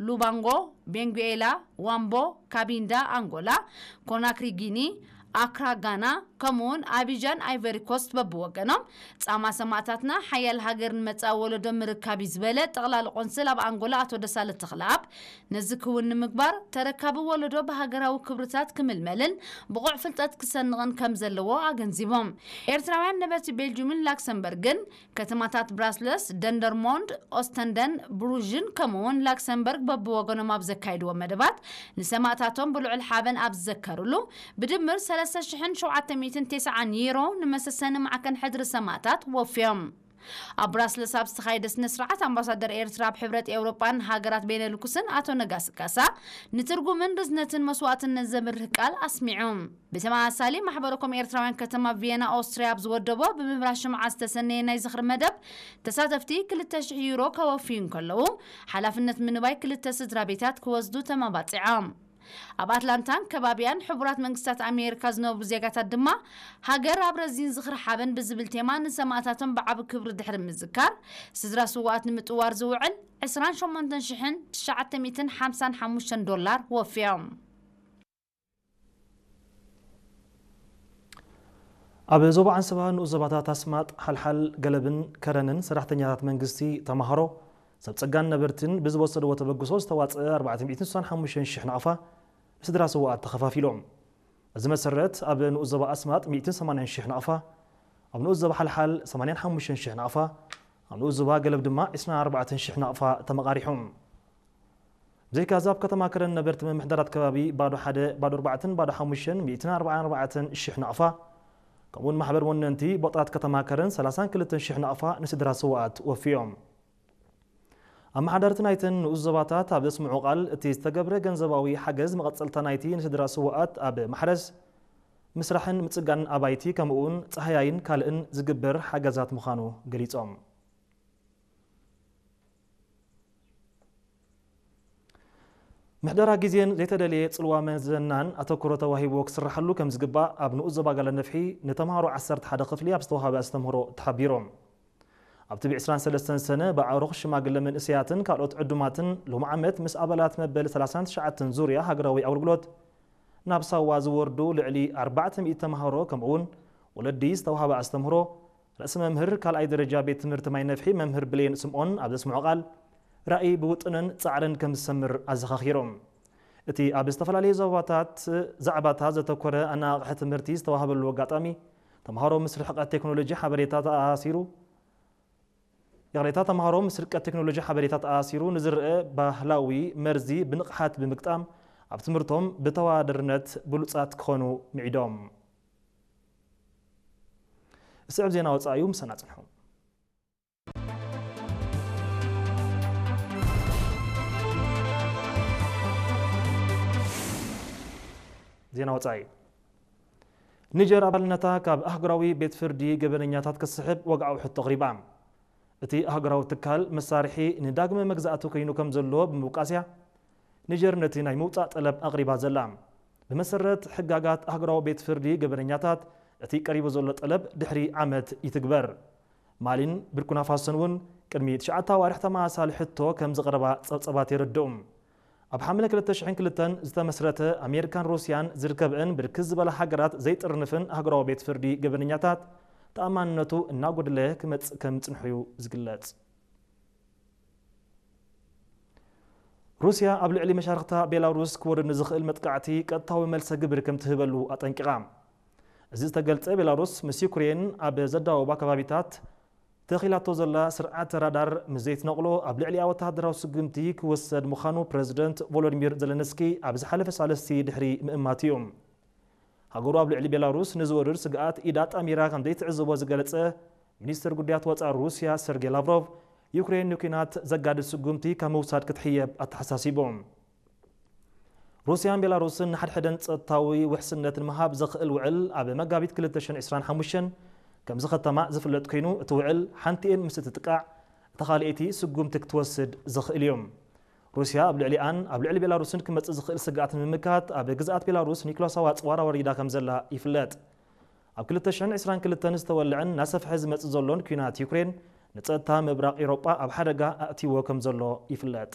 ሉባንጎ፣ ቤንጉዌላ፣ ዋምቦ፣ ካቢንዳ፣ ኣንጎላ፣ ኮናክሪ፣ ጊኒ፣ ኣክራ፣ ጋና፣ ከምኡውን ኣቢጃን፣ ኣይቨሪ ኮስት በብወገኖም ጻማ ሰማእታትና ሓያል ሃገር ንመጻኢ ወለዶ ምርካብ እዩ ዝበለ ጠቕላሊ ቆንስል ኣብ ኣንጎላ ኣቶ ደሳለ ተኽለኣብ፣ ነዚ ክውን ንምግባር ተረካቢ ወለዶ ብሃገራዊ ክብርታት ክምልመልን ብቑዕ ፍልጠት ክሰንቕን ከም ዘለዎ ኣገንዚቦም። ኤርትራውያን ነበርቲ ቤልጁምን ላክሰምበርግን ከተማታት ብራስለስ፣ ደንደርሞንድ፣ ኦስተንደን ብሩዥን ከምኡውን ላክሰምበርግ በብወገኖም ኣብ ዘካይድዎ መደባት ንሰማእታቶም ብልዑል ሓበን ኣብ ዝዘከርሉ ብድምር ሰለስተ ሽሕን ሸውዓተ ሚእትን ተስዓን ዩሮ ንመሰሰኒ ማዕከን ሕድሪ ሰማእታት ወፍዮም። ኣብ ብራስለስ ኣብ ዝተኻየደ ስነ ስርዓት ኣምባሳደር ኤርትራ ኣብ ሕብረት ኤውሮጳን ሃገራት ቤነልኩስን ኣቶ ነጋሲ ካሳ ንትርጉምን ርዝነትን መስዋእትነት ዘብርህ ቃል ኣስሚዑ። ብተመሳሳሊ ማሕበረ ኮም ኤርትራውያን ከተማ ቪየና ኦስትርያ ኣብ ዝወደቦ ብምብራሽ ሽምዓ ዝተሰነየ ናይ ዝኽሪ መደብ ተሳተፍቲ ክልተ ሽሕ ዩሮ ከወፍዩ እንከለዉ ሓላፍነት ምንባይ ክልተ ስድራ ቤታት ክወስዱ ተመባጺዖም። ኣብ ኣትላንታን ከባቢያን ሕቡራት መንግስታት ኣሜሪካ ዝነብሩ ዜጋታት ድማ ሃገር ኣብ ረዚን ዝኽሪ ሓበን ብዝብል ቴማ ንሰማእታቶም ብዓቢ ክብሪ ድሕሪ ምዝካር ስድራ ስዋኣት ንምጥዋር ዝውዕል ዕስራን ሸሞንተን ሽሕን ትሽዓተ ሚእትን ሓምሳን ሓሙሽተን ዶላር ወፍዮም። ኣብ ዞባ ዓንሰባ ንኡስ ዞባታት ኣስማጥ፣ ሓልሓል፣ ገለብን ከረንን ሰራሕተኛታት መንግስቲ፣ ተማሃሮ፣ ሰብ ጸጋን ነበርትን ብዝወሰድዎ ተበግሶ ዝተዋጽአ ኣርባዕተ ሚእትን ስሳን ሓሙሽተን ሽሕ ናቕፋ ንስድራ ስውኣት ተኸፋፊሎም። በዚ መሰረት ኣብ ንኡስ ዞባ ኣስማጥ ሚእትን ሰማንያን ሽሕ ናቕፋ፣ ኣብ ንኡስ ዞባ ሓልሓል ሰማንያን ሓሙሽተን ሽሕ ናቕፋ፣ ኣብ ንኡስ ዞባ ገለብ ድማ ዕስራን ኣርባዕተን ሽሕ ናቕፋ ተመቓሪሖም። ብዘይካዚ ኣብ ከተማ ከረን ነበርቲ ምምሕዳራት ከባቢ ባዶ ሓደ፣ ባዶ ኣርባዕተን ባዶ ሓሙሽተን ሚእትን ኣርባዓን ኣርባዕተን ሽሕ ናቕፋ፣ ከምኡውን ማሕበር ወነንቲ ቦጣት ከተማ ከረን ሰላሳን ክልተን ሽሕ ናቕፋ ንስድራ ስውኣት ወፍዮም። ኣመሓዳርቲ ናይተን ንኡስ ዞባታት ኣብ ዘስምዑ ቃል፣ እቲ ዝተገብረ ገንዘባዊ ሓገዝ መቐጸልታ ናይቲ ንስድራ ስውኣት ኣብ ማሕረስ፣ ምስራሕን ምጽጋን ኣባይቲ፣ ከምኡውን ጻህያይን ካልእን ዝግበር ሓገዛት ምዃኑ ገሊጾም። ምሕደራ ግዜን ዘይተደልየ ጽልዋ መዘናን ኣተኩሮ ተዋሂብዎ ክስርሓሉ ከም ዝግባእ ኣብ ንኡስ ዞባ ጋላ ነፍሒ ንተምሃሮ ዓሰርተ ሓደ ክፍሊ ኣብ ዝተዋሃበ ኣስተምህሮ ተሓቢሮም። ኣብ ትቢ ዕስራን ሰለስተን ሰነ ብኣዕሩኽ ሽማግለ መንእሰያትን ካልኦት ዕዱማትን ሎም ዓመት ምስ ኣባላት መበል ሰላሳን ትሽዓተን ዙርያ ሃገራዊ ኣገልግሎት ናብ ሳዋ ዝወርዱ ልዕሊ ኣርባዕተ ሚእቲ ተምሃሮ ከምኡውን ወለዲ ዝተዋሃበ ኣስተምህሮ ርእሲ መምህር ካልኣይ ደረጃ ቤት ትምህርቲ ማይ ነፍሒ መምህር ብሌን ስምኦን ኣብ ዘስምዖ ቃል ራእይ ብውጥንን ጻዕርን ከም ዝሰምር ኣዘኻኺሮም። እቲ ኣብ ዝተፈላለዩ ዞባታት ዛዕባታት ዘተኮረ ኣነቓቕሐ ትምህርቲ ዝተዋህበሉ ኣጋጣሚ ተምሃሮ ምስ ርሕቀት ቴክኖሎጂ ሓበሬታ ተኣሲሩ ይቕሬታ፣ ተምሃሮ ምስ ርቀት ቴክኖሎጂ ሓበሬታ ተኣሲሩ ንዝረአ ባህላዊ መርዚ ብንቕሓት ብምግጣም ኣብ ትምህርቶም ብተዋደርነት ብሉጻት ክኾኑ ምዒዶም። እስዕብ ዜና ወጻኢ እዩ፣ ምሳና ጽንሑ። ዜና ወጻኢ። ኒጀር ኣባልነታ ካብ ኣህጉራዊ ቤት ፍርዲ ገበነኛታት ክስሕብ ወግዓዊ ሕቶ ኣቕሪባ። እቲ ኣህጉራዊ ትካል መሳርሒ ንዳግመ መግዛእቲ ኮይኑ ከም ዘሎ ብምውቃስያ፣ ኒጀር ነቲ ናይ ምውጻእ ጠለብ ኣቕሪባ ዘላ። ብመሰረት ሕጋጋት ኣህጉራዊ ቤት ፍርዲ ገበነኛታት፣ እቲ ቀሪቡ ዘሎ ጠለብ ድሕሪ ዓመት ይትግበር። ማሊን ብርኩና ፋሶን እውን ቅድሚ ትሽዓተ ኣዋርሕ ተመሳሳሊ ሕቶ ከም ዝቐረባ ጸብጸባት የረድኡ። ኣብ ሓምለ ክልተ ሽሕን ክልተን ዝተመስረተ ኣሜሪካን ሩስያን ዝርከብአን ብርክት ዝበላ ሃገራት ዘይጥርንፍን ኣህጉራዊ ቤት ፍርዲ ገበነኛታት ተኣማንነቱ እናጎደለ ክመጽእ ከም ዝጽንሑ እዩ ዝግለጽ። ሩስያ ኣብ ልዕሊ መሻርኽታ ቤላሩስ ክወርድ ንዝኽእል መጥቃዕቲ ቀጥታዊ መልሰ ግብሪ ከም ትህበሉ ኣጠንቂቓ። እዚ ዝተገልጸ ቤላሩስ ምስ ዩክሬን ኣብ ዘዳወባ ከባቢታት ተኺላቶ ዘላ ስርዓተ ራዳር ምስ ዘይትነቕሎ ኣብ ልዕሊኣ ወተሃደራዊ ስጉምቲ ክወሰድ ምዃኑ ፕረዚደንት ቮሎዲሚር ዘለንስኪ ኣብ ዝሓለፈ ሳልስቲ ድሕሪ ምእማት እዩ። ሃገሩ ኣብ ልዕሊ ቤላሩስ ንዝወርድ ስግኣት ኢዳ ኣጣሚራ ከም ዘይትዕዘቦ ዝገለጸ ሚኒስትር ጉዳያት ወጻኢ ሩስያ ሰርጌ ላቭሮቭ፣ ዩክሬን ንኲናት ዘጋድድ ስጉምቲ ካብ ምውሳድ ክትሕየብ ኣተሓሳሲቡ። ሩስያን ቤላሩስን ንሓድሕደን ጸጥታዊ ውሕስነት ንምሃብ ዘኽእል ውዕል ኣብ መጋቢት ክልተ ሽሕን ዕስራን ሓሙሽተን ከም ዝኸተማ ዝፍለጥ ኮይኑ፣ እቲ ውዕል ሓንቲኤን ምስ እትጥቃዕ፣ እታ ካልኣይቲ ስጉምቲ ክትወስድ ዘኽእል እዩ። ሩስያ ኣብ ልዕሊኣን ኣብ ልዕሊ ቤላሩስን ክመጽእ ዝኽእል ስግኣት ንምምካት ኣብ ግዝኣት ቤላሩስ ኒክሎሳዊ ኣጽዋር ኣወሪዳ ከም ዘላ ይፍለጥ። ኣብ ክልተ ሽሕን ዕስራን ክልተን ዝተወልዐን እናሰፍሐ ዝመጽእ ዘሎን ኲናት ዩክሬን ንጸጥታ ምብራቕ ኤውሮጳ ኣብ ሓደጋ ኣእትይዎ ከም ዘሎ ይፍለጥ።